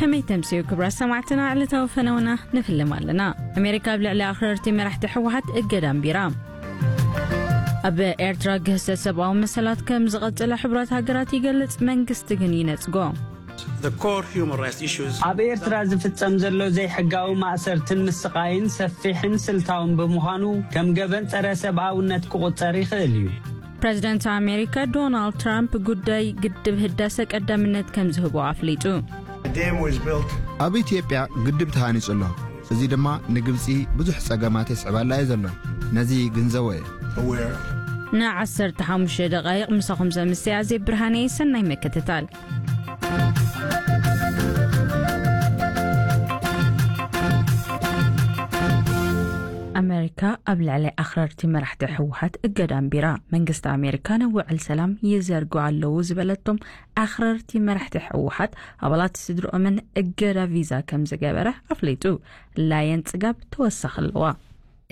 ከመይ ተምስዩ ክብራት ሰማዕትና ዕለታዊ ፈነውና ንፍልም ኣለና። ኣሜሪካ ኣብ ልዕሊ ኣኽረርቲ መራሕቲ ህወሓት እገዳ ኣንቢራ። ኣብ ኤርትራ ግህሰት ሰብኣዊ መሰላት ከም ዝቐጸለ ሕቡራት ሃገራት ይገልጽ፣ መንግስቲ ግን ይነጽጎ። The core human rights issues. ኣብ ኤርትራ ዝፍጸም ዘሎ ዘይሕጋዊ ማእሰርትን ምስቓይን ሰፊሕን ስልታውን ብምዃኑ ከም ገበን ጸረ ሰብኣውነት ክቑጸር ይኽእል እዩ። ፕረዚደንት ኣሜሪካ ዶናልድ ትራምፕ ጉዳይ ግድብ ህዳሰ ቀዳምነት ከም ዝህቦ ኣፍሊጡ። The dam was built. ኣብ ኢትዮጵያ ግድብ ተሃኒጹ ኣሎ። እዚ ድማ ንግብጺ ብዙሕ ጸገማት የስዕባላ እዩ ዘሎ። ነዚ ግንዘቦ እየ። Aware. ን15 ደቓይቕ ምሳኹም ዘምስያ ዜብ ብርሃነ፣ ሰናይ ምክትታል። ኣሜሪካ ኣብ ልዕሊ ኣኽረርቲ መራሕቲ ህወሓት እገዳ ኣንቢራ። መንግስቲ ኣሜሪካ ንውዕል ሰላም ይዘርጉ ኣለዉ ዝበለቶም ኣኽረርቲ መራሕቲ ህወሓት ኣባላት ስድርኦምን እገዳ ቪዛ ከም ዝገበረ ኣፍሊጡ። ላየን ጽጋብ ተወሳኺ ኣለዋ።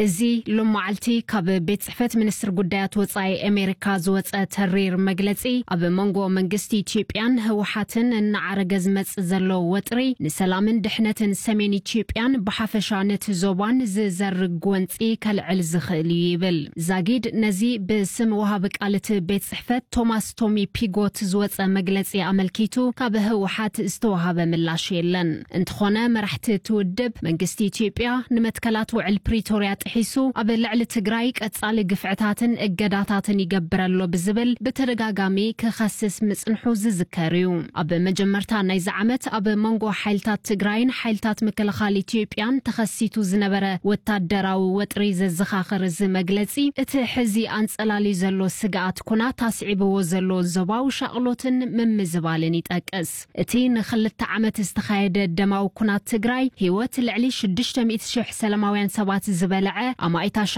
እዚ ሎማዓልቲ ካብ ቤት ጽሕፈት ሚኒስትር ጉዳያት ወጻኢ ኣሜሪካ ዝወጸ ተሪር መግለጺ፣ ኣብ መንጎ መንግስቲ ኢትዮጵያን ህወሓትን እናዓረገ ዝመጽእ ዘሎ ወጥሪ፣ ንሰላምን ድሕነትን ሰሜን ኢትዮጵያን ብሓፈሻ ነቲ ዞባን ዝዘርግ ጎንጺ ከልዕል ዝኽእል እዩ ይብል። ዛጊድ ነዚ ብስም ወሃቢ ቃል እቲ ቤት ጽሕፈት ቶማስ ቶሚ ፒጎት ዝወጸ መግለጺ ኣመልኪቱ ካብ ህወሓት ዝተወሃበ ምላሽ የለን። እንተኾነ መራሕቲ እቲ ውድብ መንግስቲ ኢትዮጵያ ንመትከላት ውዕል ፕሪቶርያ ጥሒሱ ኣብ ልዕሊ ትግራይ ቀጻሊ ግፍዕታትን እገዳታትን ይገብር ኣሎ ብዝብል ብተደጋጋሚ ክኸስስ ምጽንሑ ዝዝከር እዩ። ኣብ መጀመርታ ናይዚ ዓመት ኣብ መንጎ ሓይልታት ትግራይን ሓይልታት ምክልኻል ኢትዮጵያን ተኸሲቱ ዝነበረ ወታደራዊ ወጥሪ ዘዘኻኽር እዚ መግለጺ፣ እቲ ሕዚ ኣንጸላልዩ ዘሎ ስግኣት ኩናት ኣስዒብዎ ዘሎ ዞባዊ ሻቕሎትን ምምዝባልን ይጠቅስ። እቲ ንኽልተ ዓመት ዝተኻየደ ደማዊ ኩናት ትግራይ፣ ህይወት ልዕሊ ሽዱሽተ ሚእቲ ሽሕ ሰላማውያን ሰባት ዝበልዐ፣ ኣማኢት ኣሽሓት